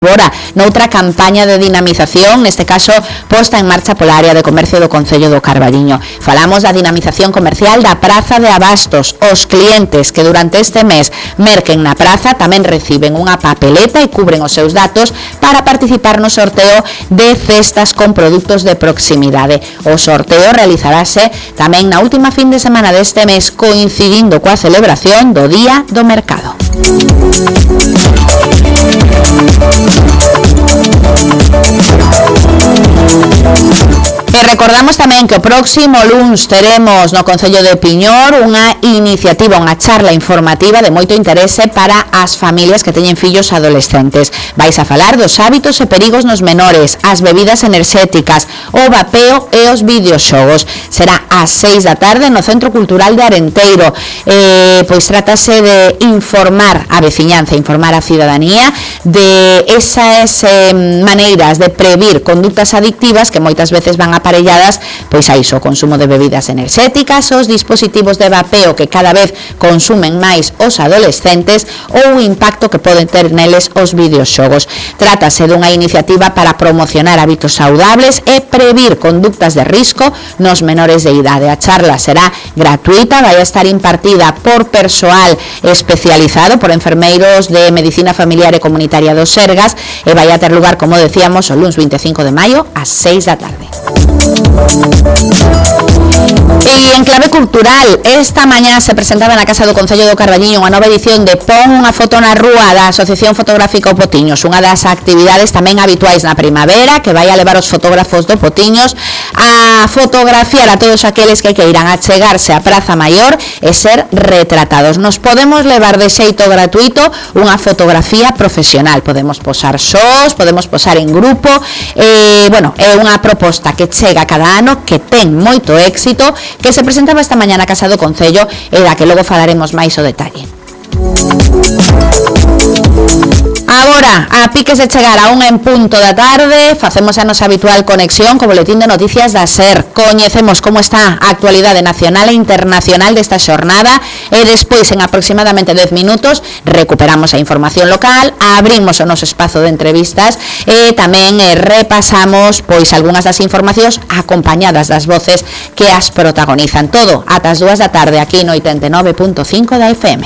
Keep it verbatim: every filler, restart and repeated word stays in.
Agora, noutra campaña de dinamización, neste caso posta en marcha pola área de comercio do Concello do Carballiño. Falamos da dinamización comercial da Praza de Abastos. Os clientes que durante este mes merquen na praza tamén reciben unha papeleta e cubren os seus datos para participar no sorteo de cestas con produtos de proximidade. O sorteo realizarase tamén na última fin de semana deste mes, coincidindo coa celebración do Día do Mercado. E recordamos tamén que o próximo luns teremos no Concello de Piñor unha iniciativa, unha charla informativa de moito interese para as familias que teñen fillos adolescentes. Vais a falar dos hábitos e perigos nos menores, as bebidas enerxéticas, o vapeo e os videoxogos. Será ás seis da tarde no Centro Cultural de Arenteiro. Eh, pois trátase de informar a veciñanza, informar a cidadanía de esas eh, maneiras de previr conductas adictivas que moitas veces van aparelladas pois a iso, o consumo de bebidas enerxéticas, os dispositivos de vapeo que cada vez consumen máis os adolescentes ou o impacto que poden ter neles os videoxogos. Trátase dunha iniciativa para promocionar hábitos saudables e previr conductas de risco nos menores de idade. A charla será gratuita, vai a estar impartida por persoal especializado, por enfermeiros de Medicina Familiar e Comunitaria dos Sergas, e vai a ter lugar, como decíamos, o luns vinte e cinco de maio ás seis da tarde. E en clave cultural, esta mañá se presentaba na Casa do Concello do Carballiño unha nova edición de Pon unha foto na rúa da Asociación Fotográfica O Potiños, unha das actividades tamén habituais na primavera que vai a levar os fotógrafos do Potiños a fotografiar a todos aqueles que queiran achegarse á Praza Maior e ser retratados. Nos podemos levar de xeito gratuito unha fotografía profesional, podemos posar sós, podemos posar en grupo, e, bueno, é unha proposta que chega cada ano, que ten moito éxito, que se presentaba esta mañá na Casa do Concello e da que logo falaremos máis o detalle. Agora, a piques de chegar a unha en punto da tarde, facemos a nosa habitual conexión co boletín de noticias da SER. Coñecemos como está a actualidade nacional e internacional desta xornada e despois, en aproximadamente dez minutos, recuperamos a información local, abrimos o noso espazo de entrevistas e tamén eh, repasamos pois algunhas das informacións acompañadas das voces que as protagonizan. Todo ata as dúas da tarde aquí no oitenta e nove punto cinco da F M.